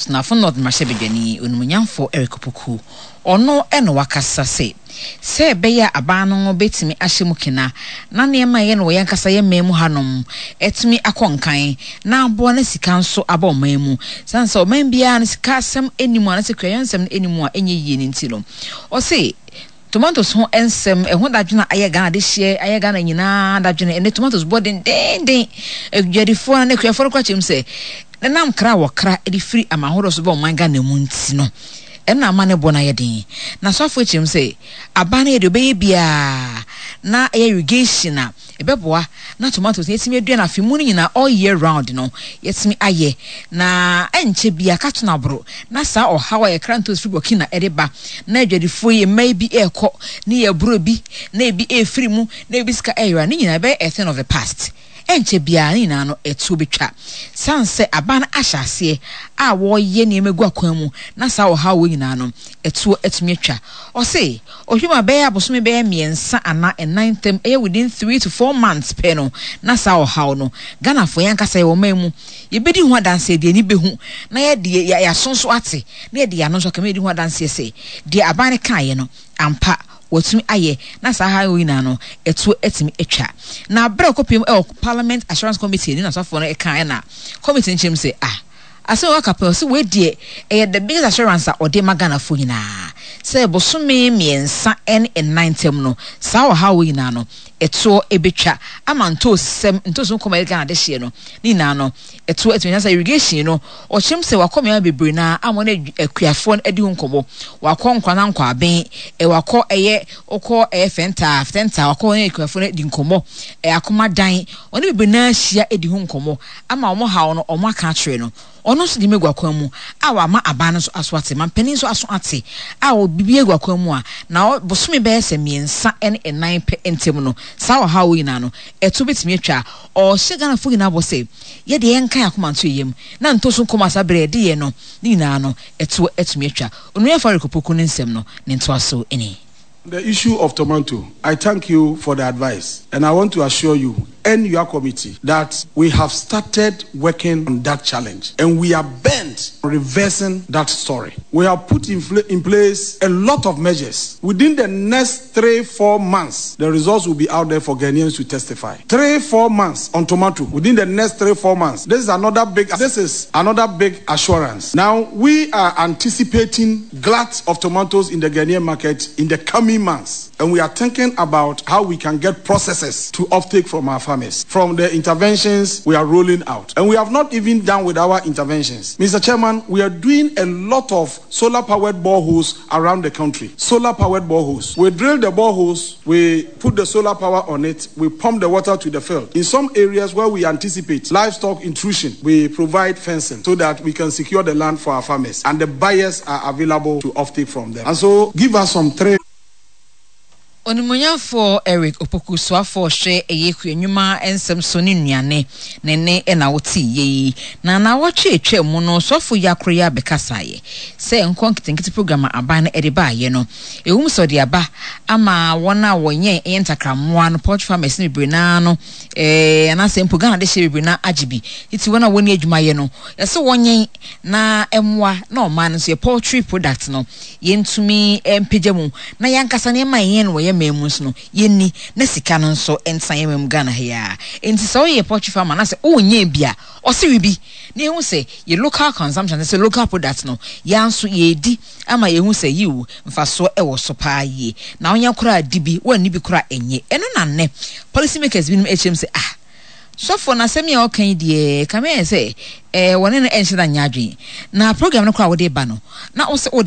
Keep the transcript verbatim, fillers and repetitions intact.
Asunafo North mmarahyɛbadwani Onimuonyamfo Eric Opoku, ɔno na wakasa sɛ sɛ ɛbɛyɛ a aban no bɛtumi ahyɛ mu kena na nneɛma a ɛyɛ no wɔ yɛn ankasa yɛn man mu hanom atumi akɔ nkan na aboa na sika nso aba ɔman mu, sane sɛ ɔman biara no sika asɛm anim anaasɛ kuayɔ nsɛm no anim a ɛnyɛ yie no nti no, ɔse tomatoes ho nsɛm ɛho dadwene a ayɛ Ghana de hyeɛ, ayɛ Ghana nyinaa dadwene. Ɛnɛ tomatoes bɔ dendenden, adwadifoɔ no ne akuafoɔ no kora kyerɛ mu sɛ nenam kra a wɔkra de firi aman ahodoɔ so bɛ ɔman Ghana mu nti no, ɛna ama ne bɔ no ayɛ den. Na asɔfoɔ kyerɛ mu sɛ aban no yɛ deɛ ɔbɛyɛ biara na ɛyɛ irrigation a ɛbɛboa na tomatoes no yɛtumi adua no afe mu no nyinaa, all year round no yɛtumi ayɛ, na ɛnkyɛ bia ka to no aboro na saa ɔhaw a yɛkra ntoos firi Burkina ɛde ba na adwadifoɔ yi mmaa bi ɛrekɔ ne yɛboro bi na ebi ɛrefiri mu na ebi sika ɛyera ne nyinaa ɛbɛyɛ a thing of the past. Ɛnkyɛ biara ne nyinaa no ɛtuo bɛtwa, san sɛ aban no ahyɛ aseɛ a wɔreyɛ nneɛma gu akwan mu na saa ɔhaw wɔ nyinaa no ɛtuo atumi atwa. Ɔse ɔhwɛ mu a, bɛyɛ abosome bɛyɛ mmiɛnsa anaa ɛnan ntam, ɛyɛ within three to four months pɛ no, na saa ɔhaw no Ghanafoɔ yɛn ankasa yɛwɔ ɔman mu yɛbɛdi ho adanseɛ, deɛ ani bɛhu na yɛde yɛaso nso ate na yɛde yɛn ano nso aka ma yɛdi ho adanseɛ sɛ deɛ aban no kaeɛ no ampa wɔtumi ayɛ na saa ha yi nyinaa no ɛtuo atumi atwa. Na abere a ɔkɔpiem ɛwɔ Parliament Assurance Committee ne n'asɔfoɔ no ɛka, ɛna committee no kyerɛ mu sɛ, ah, asɛm a waka pɛ, ɔsɛ wei deɛ ɛyɛ the biggest assurance a ɔde ma Ghanafoɔ nyinaa sɛ bosome mmiɛnsa ne nnan ntam no saa ɔhaw wɔ nyinaa no ɛtoɔ ɛbɛtwa ama ntoosɛm ntoos ho kɔma ɛde Ghana de hyeɛ no ne nyinaa no ɛtoɔ atumi. Sɛ irrigation no, ɔkyerɛm sɛ wakɔ mmea bebree naa ama ne akuafoɔ no adi ho nkɔmmɔ, wakɔ Nkwana Nkwaben, ɛ wakɔ ɛyɛ wokɔ ɛyɛ fɛntaa fɛntaa, wakɔ ne akuafoɔ no adi nkɔmmɔ, ɛ Akomadan, ɔne bebree naa ahyia adi ho nkɔmmɔ ama wɔn haw no wɔn aka akyerɛ no. Ɔno nso de mu egu akwan mu a wama aban no nso aso ate, mampanin nso aso ate a obibi egu akwan mu a na bosome bɛyɛ sɛ mmiɛnsa ne nnan pɛ ntɛm no saa ɔhaw wɔ nyinaa no ɛto bɛtumi atwa. Ɔhyɛ Ghanafoɔ nyinaa bɔ sɛ yɛde yɛn nka yɛn akoma nto yɛm na ntoso nkɔmɔ asa berɛ yɛde yɛ no ne nyinaa no ɛto atumi atwa. Onuafo Eric Opoku ne nsɛm no ne ntoaso ni. The issue of tomato, I thank you for the advice, and I want to assure you and your committee that we have started working on that challenge and we are bent on reversing that story. We have put in, in place a lot of measures. Within the next three, four months, the results will be out there for Ghanaians to testify. Three, four months on tomato. Within the next three, four months. This is another big, this is another big assurance. Now, we are anticipating glut of tomatoes in the Ghanaian market in the coming months. And we are thinking about how we can get processors to offtake from our farmers, from the interventions we are rolling out. And we have not even done with our interventions. Mister Chairman, we are doing a lot of solar powered boreholes around the country. Solar powered boreholes. We drill the boreholes, we put the solar power on it, we pump the water to the field. In some areas where we anticipate livestock intrusion, we provide fencing so that we can secure the land for our farmers. And the buyers are available to offtake from them. And so give us some three. Onimuonyamfoɔ Eric Opoku, soafoɔ hwɛ ɛyɛ kua nnwuma nsɛm so ne nnuane ne ne ɛna wote yie yi. Na nawɔtwe atwa mu no, soafoɔ yi akoro yi abɛkasaeɛ sɛ nkɔ nketenkete program a aban no ɛde baayɛ no, ɛwom sɛ ɔde aba ama wɔn a wɔnyɛ ɛyɛ ntakrammoa no, poultry farmers no bebree naa no, ɛɛ anaasɛ mpo Ghana de hyɛ bebree naa agye bi titi wɔn a wɔn adwumayɛ no, yɛsɛ wɔnyɛn na ɛmoa na ɔman no nso yɛ poultry product no yɛntumi mpagya mu na yɛankasa nneɛma a yɛn no wɔ yɛn man mu nso no yɛnni na sika no nso ntena yɛn man mu Ghana ha yi a. Nti sɛ woyɛ poultry farmer na sɛ wonyɛ bi a, ɔse bi na yɛhu sɛ yɛ local consumption, sɛ local product no yɛn nso yɛdi ama yɛhu sɛ yiw mfasoɔ ɛwɔ so paa yie na wonya koraa di bi, wɔnni bi koraa ɛnyɛ. Ɛno na nnɛ policy makers binom akyerɛ mu sɛ, ah, sɔfo na asɛm yi a ɔka yi deɛ kame yɛ sɛ ɛɛ wɔne no ɛnhyɛ da nyɛ adwene na program no koraa wɔde ba no na wɔsɛ wɔde